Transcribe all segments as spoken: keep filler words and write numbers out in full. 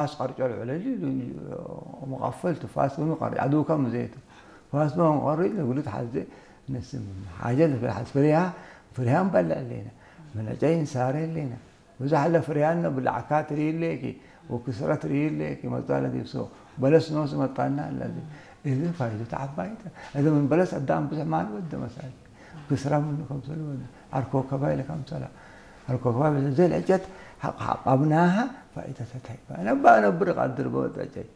ፋስ ቀርጮ ለዐለ ሊ-፣ ሊ-፣ መቃፈል ቱ ፋስ ምን ቀርጭ፣ ዐዱከ ምዜቱ። ፋስ ምን ቀርጭ ለእግሉ ተሐዜ ነስእ ምኑ። ሓጀት ለፍርያም በለ እሌነ። ምን ዕጨይ እንሳሬ እሌነ። ብዛሕ ለፍርያም ብላዕካት ርኢሌኪ ወክስረት ርኢሌኪ መጽአለ ዲብ ሶ። በለስ ኖስ መጣና ለዚ። እሊ ፋይደቱ ዐባይተ። እሊ ምን በለስ አዳም ብዙሕ ማል ወደ መሳይ። ክስራ ምኑ ከምሰል ወደ። አርኮከባይ ለከምሰላ። አርኮከባይ በ-፣ ዘ ለዕጨት ሐቅ ሐቃብናሃ ፋይደተ ተይባ። ነባ ነብር ቀድር በወጠጨይ።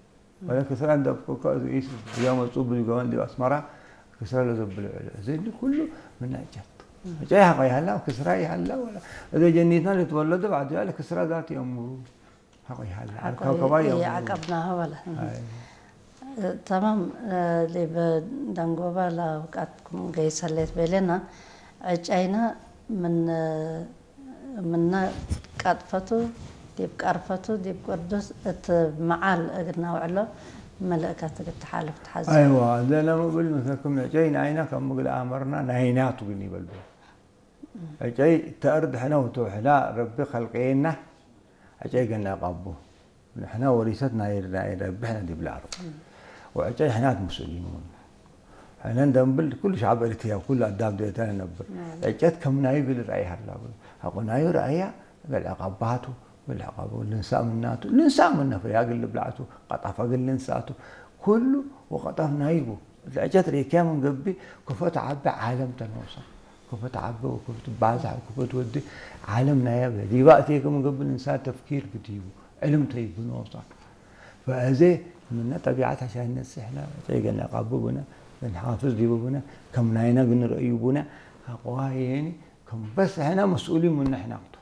ወለ ክስራ እንደ አብቆ እኮ እዙ ኢስ እዚያ መጹ ብዙ ገመን ዲብ አስመራ ክስራ ለዘብሉ ዕሉ። እዚ እንዲ ኩሉ ምን ዕጨት። ዕጨይ ሐቆ ይሃላ፣ ክስራ ይሃላ፣ ወላ እዘ ጀኒትና ልትወለዱ ባዕዱ ያለ ክስራ ዛት የእምሩ። ሐቆ ይሃላ። ሐቆ አርካው ከባ የእምሩ። የዐቀብናሃ ወለ። አይ። ተማም፣ እ፣ ዲብ ደንጎበ ለአውቃትኩም ገይሰ ሌት ቤሌና፣ ዕጨይነ ምን ምነ ቀጥፈቱ ዲብ ቀርፈቱ ዲብ ቅርዱስ እት መዓል እግል ነውዕሎ መልእከት እግል ተሓልፍ ተሐዜ። አይዋ፣ ለለመ እብል ምሰልኩም ዕጨይ ናይና ከም እግል አመርና ናይናቱ ግን ይበልቡ። ዕጨይ ተአርድ ሕነ ውቱ ሕላ ረቢ ከልቀየና ዕጨይ ገና ቀቡ። ንሕነ ወሪሰት ናይ፣ ናይ ረቢ ሕነ ዲብለ አርድ። ወዕጨይ ሕናት መስኡሊን ውን። ሕነ እንደንብል ኩሉ ሸዐብ ኤሪትርያ ወኩሉ አዳም ዴተነ ነብር። ናም። ዕጨት ከም ናዩ እግል ረአይ ሀላ ብሎ። ሐቆ ናዩ ረአያ እግል ዕቃባቱ፣ እግል ዕቃቡ ልንሳእ ምናቱ፣ ልንሳእ ምነ ፍርያ እግል ልብላዕቱ፣ ቀጠፈ እግል ልንሳእቱ፣ ኩሉ ወቀጠፍ ናዩ ቡ። ዕጨት ሬክያ ምን ገብእ፣ ክፎ ተዐቤ ዓለም ተኖሳ። ክፎ ተዐቤ ወክፎ ትባዛሕ ወክፎ ትወዴ ዓለም ናያ ብለ። ዲባ እቴከ ምን ገብእ ልንሳእ ተፍኪር ግዲቡ። ዕልም ተይቡ ኖሳ። ፈአዜ ምነ ጠቢዐት ዐሻን ነስእ ሕነ፣ ዕጨይ ገና ቀቡ ብነ፣ ልንሓፍዝ ዲቡ ብነ፣ ከም ናይነ ግንርእዩ ብነ፣ አቅዋየኒ ከም በስ ሕነ መስኡሊን ምነ ሕነ ክቱ።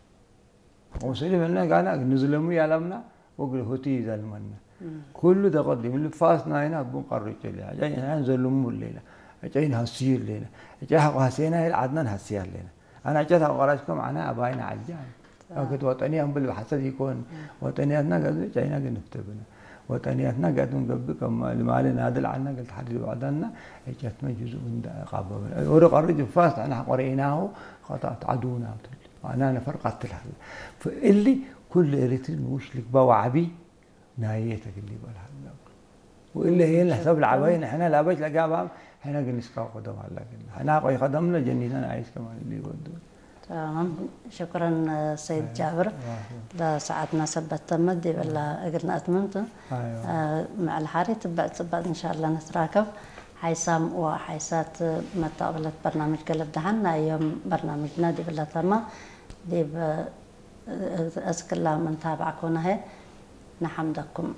ወሰሊም እነ ጋና እግል ንዝለሙ ያላምና ወእግል ሁቲ ይዘልመነ። እም። ኩሉ ተቀዲም ልፋስ ናይና እቡ ቀርጭ ሌና። ዕጨይ ናይና ዘልሙ ሌና። ዕጨይ ነሐስዩ ሌና። ዕጨይ ሐቆ ሐሴና ይል ዐድና ነሐስያ ሌና። አነ ዕጨት ሐቆ ቀራጭ ከም አነ አባይና ዐጃ። አክት ወጠንያ እምብል በሐሰት ኢኮን። እም። ወጠንያትና ገዱ ዕጨይና እግል ንፍተ ብነ። ወጠንያትና ገዱ ገብእ ከም ልማሊ ናድል ዐና እግል ተሐድድ ወዕዳና ዕጨትመ ጅዙእ እንደ ቃበበ። ወደ ቀርጭ ልፋስ አነ ሐቆ ረኢናሁ ኸጣት ዐዱና ብትል። አና ነፈር ቀትል ሀለ። ፈእሊ ኩሉ ኤሪትሪ ንኡሽ ልግበእ ወዐቢ ናየ ተ እግል ሊበል ሀለ። ወእለ ህዬ ለሕሰብ ለዐባይ ንሕነ ለአበሽ ለጋብአም ሕነ እግል ንስካው ከደም ሀለ እግል። ሕነ አቆይ ከደምነ ጀኒተን አይስ ከማን እሊ ወዱ። ተማም። ሽክረን ሰይድ ጃብር። አይ፣ ለሰዓትና ሰበት ተመት ዲበላ እግል ነአትምም ቱ። አይዋ። አ፣ መዐል ሐሪ ትበዕ ጽባጥ እንሻአላ ነትራከብ። ሓይሳም ወሓይሳት መተቅብለት በርናምጅ ገልብ ደሐን። ናይ ዮም በርናምጅነ ዲብለ ተማ። ዲብ እስክላ ምን ታብዐኩነ ህዬ ነሐምደኩም።